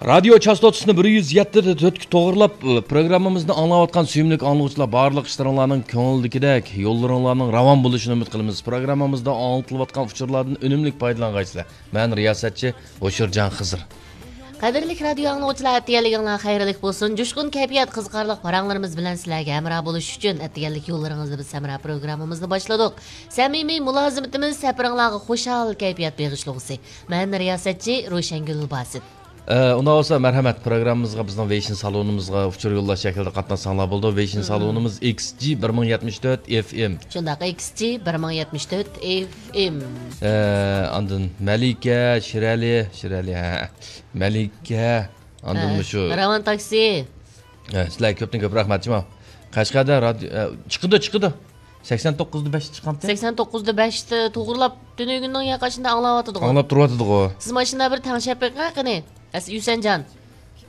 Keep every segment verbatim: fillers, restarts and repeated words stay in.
رادىيو چاستوتىسىنى بىر يۈز يەتتە تۆتكە توغرىلاپ، پروگراممىمىزنى ئاڭلاۋاتقان سۆيۈملۈك ئاڭلىغۇچىلار، بارلىق ئىشلىرىڭلارنىڭ كۆڭۈلدىكىدەك، يوللىرىڭلارنىڭ راۋان بولۇشىنى ئۈمىد قىلىمىز. پروگراممىمىزدا ئاڭلىتىلىۋاتقان ئۇچۇرلاردىن ئۈنۈملۈك پايدىلانغايسىلەر. مەن رىياسەتچى ھوشۇرجان خىزىر. قەدىرلىك رادىيو ئاڭلىغۇچىلار، ئەتىگەنلىكىڭلار خەيرلىك بولسۇن. جۇشقۇن كەيپىيات، قىزىقارلىق پاراڭلىرىمىز بىلەن سىلەرگە ھەمراھ بولۇش ئۈچۈن ئەتىگەنلىك يوللىرىڭىزدا بىز ھەمراھ پروگراممىمىزنى باشلىدۇق. سەمىمىي مۇلازىمىتىمىز سەپىرىڭلارغا خۇشال كەيپىيات بېغىشلىغۇسى. مەن رىياسەتچى روشەنگۈل باسىت. ئە، ئۇنداق بولسا، مەرھەمەت، پروگراممىمىزغا، بىزنىڭ ۋېيشىن سالونىمىزغا ئۇچۇر يوللاش شەكلىدە قاتناشساڭلار بولىدۇ. ۋېيشىن سالونىمىز ئېكس جى بىر مىڭ يەتمىش تۆت ئېف ئېم. شۇنداق، ئېكس جى بىر مىڭ يەتمىش تۆت ئېف ئېم. ئە، ئاندىن مەلىكە، شىرئەلى، شىرئەلى، ھە. مەلىكە، ئاندىن ھە، مۇشۇ راۋان تاكسى. ھە، سىلەرگە كۆپتىن كۆپ رەھمەت، جۇمۇ. قەشقەردە رادىيو، ئە، چىقىدۇ، چىقىدۇ. سەكسەن توققۇزدا بەش چىققانتى. سەكسەن توققۇزدا بەشتە توغرىلاپ، تۈنۈگۈننىڭ ياقاشىندا ئاڭلاۋاتىدىغۇ. ئاڭلاپ تۇرۇۋاتىدىغۇ. سىز ماشىنا بىر تەڭشەپ بېقىڭ، قېنى. ئەس-، يۈسەنجان.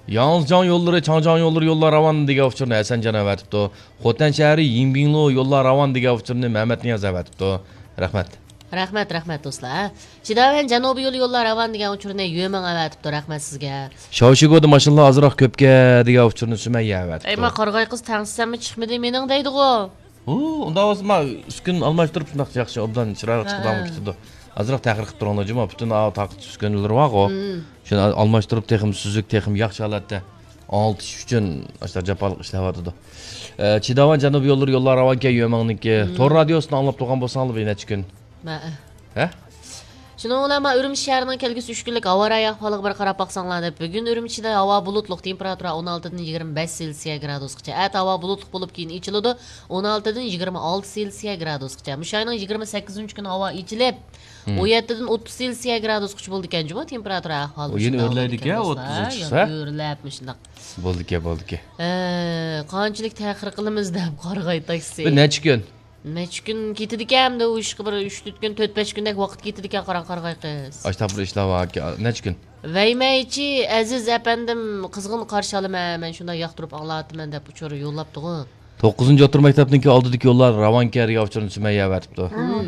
ياڭزىجاڭ يوللىرى، چاڭجاڭ يوللىرى يوللار راۋان دېگەن ئۇچۇرنى ھەسەنجان ئەۋەتىپتۇ. خوتەن شەھىرى يىڭبىڭلۇ يوللار راۋان دېگەن ئۇچۇرنى مەمەتنىياز ئەۋەتىپتۇ. رەھمەت. رەھمەت، رەھمەت دوستلار. چىداۋەن جەنۇبىي يولى يوللار راۋان دېگەن ئۇچۇرنى يۆمىڭ ئەۋەتىپتۇ. رەھمەت سىزگە. شاۋشىگودا ماشىنىلار ئازراق كۆپكەن دېگەن ئۇچۇرنى سۈمەييە ئەۋەتىپتۇ. ئەي، ما قارىغاي قىز، تەڭشىسەممۇ چىقمىدى مېنىڭ دەيدىغۇ. ھۇ، ئۇنداق بولسا ما ئۈسكۈن ئالماشتۇرۇپ شۇنداق ياخشى ئوبدان چىرايلىق ھە، چىقىدىغان ھە. كېتىدۇ. ئازراق تەخىر قىلىپ تۇرۇڭلار جۇمۇ. پۈتۈن ئاۋۇ تاقىتىش ئۈسكۈنىلىرى بارغۇ. مم. شۇنى ئالماشتۇرۇپ تېخىمۇ سۈزۈك، تېخىمۇ ياخشى ھالەتتە ئاڭلىتىش ئۈچۈن ئاشۇنداق جاپالىق ئىشلەۋاتىدۇ. ئە، چىداۋان جەنۇبىي يوللىرى يوللار راۋانكەن يۆمىڭنىڭكى. مم. تور رادىيوسىنى ئاڭلاپ تۇرغان بولساڭلار بىر نەچچە كۈن. مە. ھە؟ شۇنىڭ بىلەن مانا ئۈرۈمچى شەھىرىنىڭ كەلگۈسى ئۈچ كۈنلۈك ھاۋا رايى ئەھۋالىغا بىر قاراپ باقساڭلار دەپ، بۈگۈن ئۈرۈمچىدە ھاۋا بۇلۇتلۇق، تېمپېراتۇرا ئون ئالتىدىن يىگىرمە بەش سېلسىيە گرادۇسقىچە. ئەتە ھاۋا بۇلۇتلۇق بولۇپ، كېيىن ئېچىلىدۇ، ئون ئالتىدىن يىگىرمە ئالتە سېلسىيە گرادۇسقىچە. مۇشۇ ئاينىڭ يىگىرمە سەككىزىنچى كۈنى ھاۋا ئېچىلىپ، مم. ئون يەتتىدىن ئوتتۇز سېلسىيە گرادۇسقىچە بولىدىكەن جۇمۇ، تېمپېراتۇرا ئەھۋالى. ئۇ يەنە ئۆرلەيدىكەن، ئوتتۇزىنچى چىقسا. ئۆرلەپ مۇشۇنداق. بولىدىكەن، بولىدىكەن. ئە، قانچىلىك تەخىر قىلىمىز دەپ قارىغاي تاكسى. بىر نەچچە كۈن. نەچچە كۈن كېتىدىكەن ئەمدى ئۇ ئىشقا، بىر ئۈچ تۆت كۈن، تۆت بەش كۈندەك ۋاقىت كېتىدىكەن، قاراڭ قارىغاي قىز. ئاشتاق بىر ئىشلار بار، نەچچە كۈن. ۋەيمەيچى ئەزىز ئەپەندىم قىزغىن قارشى ئالىمەن، مەن شۇنداق ياقتۇرۇپ ئاڭلاۋاتىمەن دەپ ئۇچۇر يوللاپتىغۇ. توققۇزىنچى ئوتتۇرا مەكتەپنىڭكى ئالدىدىكى يوللار راۋانكەن دېگەن ئۇچۇرنى سۈمەييە ئەۋەتىپتۇ. مم.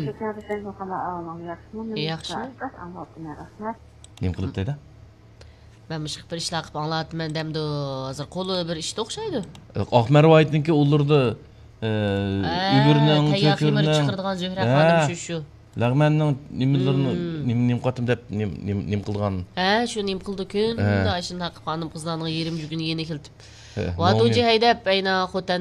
ياخشىمۇ؟ ياخشىمۇ؟ نېمە قىلىپ دەيدۇ؟ مەن مۇشۇ بىر ئىشلار قىلىپ ئاڭلاۋاتىمەن دەمدۇ، ھازىر قولى بىر ئىشتا ئوخشايدۇ. ئاقمەر ۋايىتنىڭكى ئۇلىرىدا، ئە، ھە، ئۆگۈرنىڭ، تەييار خېمىر چۆكۈرنىڭ، چىقىرىدىغان زۆھرە ھە، خانىم شۇ، شۇ. لەغمەننىڭ نېمىلىرىنى، مم. نېمە، نېمە قاتىم دەپ، نېمە، نېمە، نېمە قىلىدىغان. ھە، شۇ نېمە قىلىدۇ، كۈندە ھە. ئاشۇنداق قىلىپ خانىم قىزلارنىڭ يېرىم جۈگىنى يېنىك ئېلىتىپ. ھە، ۋاتۇجى ھەيدەپ، ئەينا خوتەن